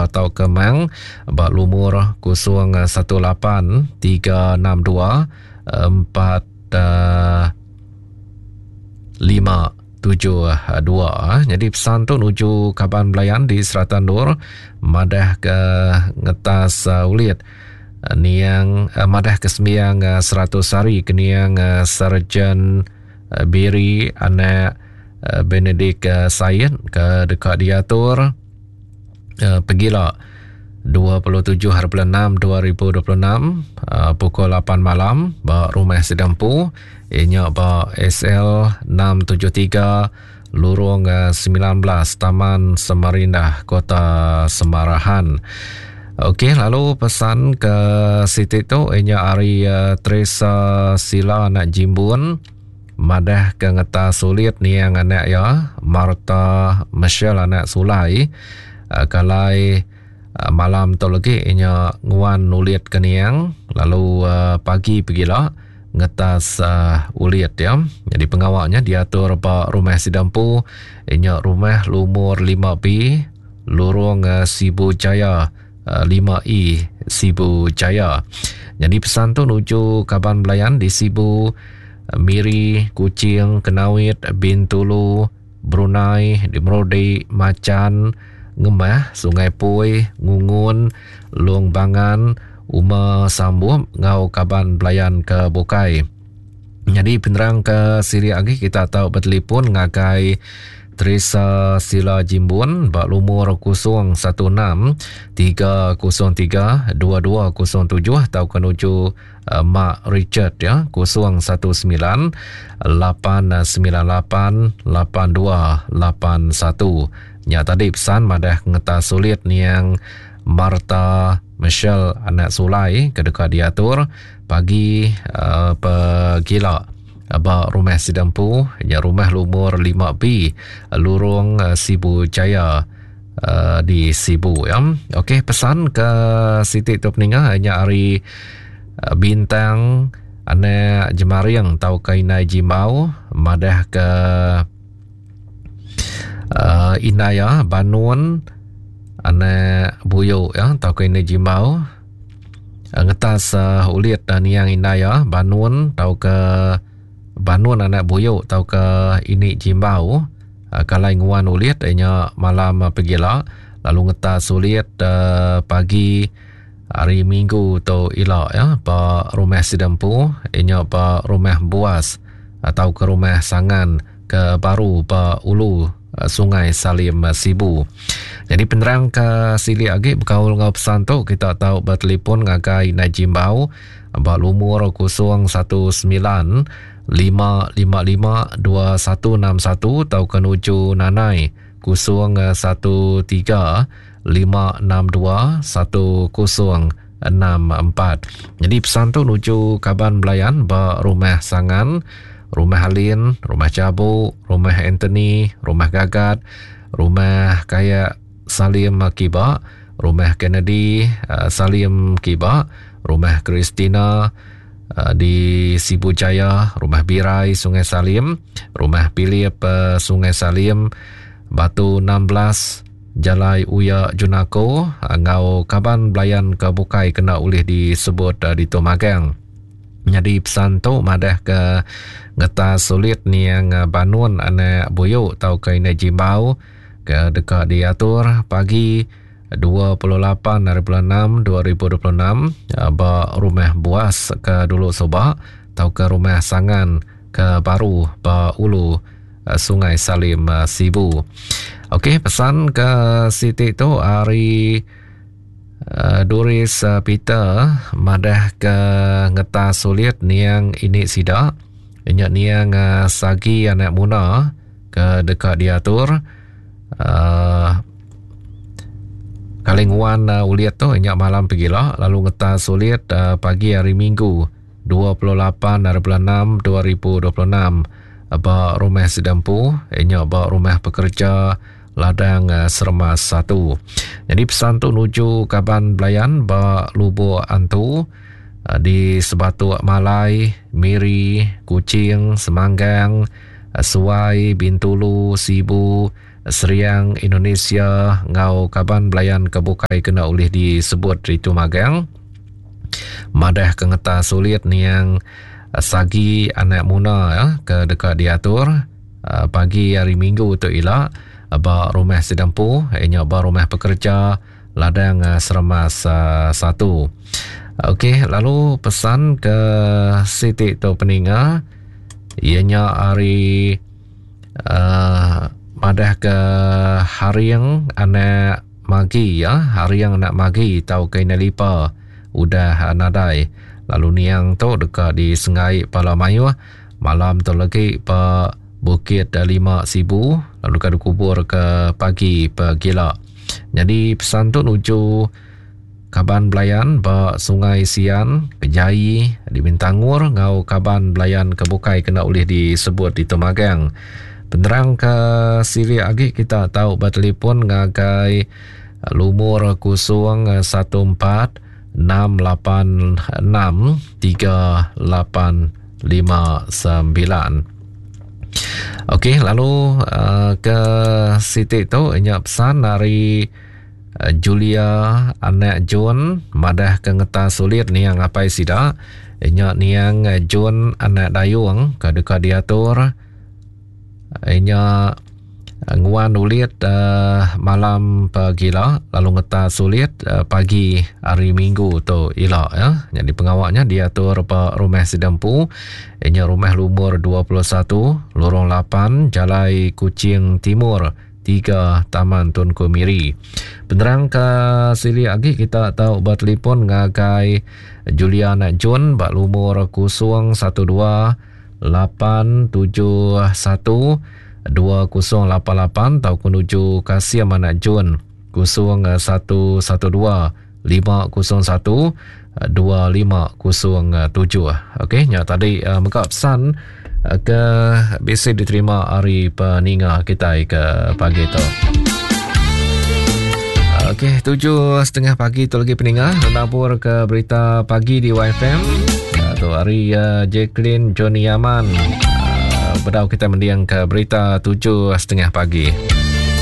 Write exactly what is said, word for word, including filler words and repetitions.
tau ke Mang ba lumur kosong satu lapan tiga enam dua empat lima tujuh dua. Jadi pesan tu nuju kaban belayan di Seratan Nur madah ke ngetas ulit niang madah ke sembiang seratus hari ke niang Sarjan Biri anak Benedict Said ke dekat diatur pegila dua puluh tujuh hari bulan enam dua ribu dua puluh enam pukul lapan malam ba rumah Sidampu ianya ba S L enam tujuh tiga Lurung sembilan belas Taman Semarindah Kota Semarahan. Okey, lalu pesan ke siti tu ianya hari uh, Teresa Sila anak Jimbun madah ke ngetas sulit niang anak ya Martha Michelle anak Sulai uh, kalai uh, malam tu lagi ianya nguan nulit ke niang lalu uh, pagi pegila ngetas uh, ulit ya. Jadi pengawaknya diatur ba rumah Sidampu ianya rumah lumur lima B Lurung uh, Sibu Jaya uh, lima E Sibu Jaya. Jadi pesan tu nuju kaban belayan di Sibu, Miri, Kuching, Kenawit, Bintulu, Brunei, di Merodi, Macan, Ngemah, Sungai Pui, Ngungun, Long Bangan, Uma Sambum ngau kaban belayan ke Bukai. Jadi penerang ke siri lagi kita tahu bertelefon ngagai Teresa Sila Jimbun bak lumur kosong satu enam tiga kosong tiga dua dua kosong tujuh atau menuju uh, Mak Richard ya kosong satu sembilan lapan sembilan lapan lapan dua lapan satu. Nya tadi pesan madah ngetas sulit niang Martha Michelle anak Sulai ke dekat diatur pagi uh, pegila ba rumah Sidampu nya rumah lumur lima B Lurung uh, Sibu Jaya uh, di Sibu ya. Okey, pesan ke siti tu peninga hanya hari uh, bintang anak Jemaring tau ke Inai Jimbau madah ke uh, Inaya Banun anak Buyu ya tau ke Inai Jimbau uh, ngetas uh, ulit dan niang Inaya Banun tau ke Banun anak Buyuk tau ke ini Jimbau uh, kalai nguan ulit ianya malam uh, pegila lalu ngetas ulit uh, pagi hari Minggu tu ila ya ba rumah Sidampu ianya ba rumah Buas atau ke rumah Sangan ke baru ba ulu uh, Sungai Salim uh, Sibu. Jadi penerang ke sili agi berkaul ngau pesan tu kita tahu bertelefon ngagai Inai Jimbau ba lumur kosong satu sembilan lima lima lima dua satu enam satu atau ke nuju Nanai kosong satu tiga lima enam dua satu kosong enam empat. Jadi pesan tu nuju kaban belayan ba rumah Sangan, rumah Halin, rumah Cabuk, rumah Anthony, rumah Gagat, rumah Kayak Salim Kiba, rumah Kennedy Salim Kiba, rumah Christina di Sibu Jaya, rumah Birai Sungai Salim, rumah Philip Sungai Salim, Batu enam belas Jalai Uya Junako ngau kaban belayan ke Bukai kena ulih disebut di Tomagang. Jadi pesan tu madah ke ngetas sulit niang Banun anak Buyuk tau ke Inai Jimbau ke dekat diatur pagi dua puluh lapan hari bulan enam dua ribu dua puluh enam ba rumah Buas ke dulu Sobak atau ke rumah Sangan ke baru ba ulu Sungai Salim Sibu. Okey, pesan ke siti tu hari uh, Doris uh, Peter madah ke ngetas sulit niang ini sida inyak niang uh, Sagi anak Muna ke dekat diatur uh, kali nguan uh, uliat tu inyak malam pegila lalu ngetas sulit uh, pagi hari Minggu dua puluh lapan hari bulan enam dua ribu dua puluh enam ba rumah Sidampu inyak ba rumah pekerja ladang uh, Sermas satu. Jadi pesan tu nuju kaban belayan ba Lubuk Antu uh, di Sebatuk Malai, Miri, Kuching, Semanggang, uh, Suai, Bintulu, Sibu, Seriang Indonesia enggau kaban belayan ke bukai kena ulih disebut ditu magang. Madah ke ngetas ulit niang Sagi anak Muna ya, ke deka diatur pagi hari Minggu tu ila ba rumah Sidampu inya ba rumah pekerja Ladang Seremas satu. Okey, lalu pesan ke siti tu peninga ianya hari uh, madah ke Haring anak Magi ya, Haring anak Magi tau ke Lipa udah nadai. Lalu niang tu deka disengai pala mayuh malam tu lagi pa Bukit Lima Sibu lalu ka dikubur ke pagi pegila. Jadi pesan tu nuju kaban belayan ba Sungai Sian, Kejai, di Bintangor ngau kaban belayan ke bukai kena ulih disebut di Temagang. Penerang ke silik agi kita tahu bertelefon ngagai lumur kosong satu empat enam lapan enam tiga lapan lima sembilan. Okey, lalu uh, ke siti tu nya pesan dari uh, Julia anak John madah ke ngetas sulit niang apai sida nya niang John anak Dayung ke deka diatur nya nguan ulit uh, malam pagila lalu ngetas sulit uh, pagi hari Minggu tu ila ya. Jadi pengawaknya diatur ba rumah Sidampu nya rumah lumur dua puluh satu Lorong lapan Jalai Kuching Timur tiga Taman Tunku Miri. Penerang ke silik agi kita tahu bertelefon ngagai Julian John ba lumur kosong satu dua lapan tujuh satu dua kosong lapan lapan atau menuju Kasim anak Jun kosong satu satu dua lima kosong satu dua lima kosong tujuh. Okey, nya tadi uh, mega pesan uh, ke bisi diterima hari peninga kita ke pagi tu. Okey, tujuh setengah pagi tu lagi peninga menabur ke berita pagi di Y F M. Uh, tu hari uh, Jacqueline Johnny Yaman. Bedau kita mendiang ke berita tujuh setengah pagi.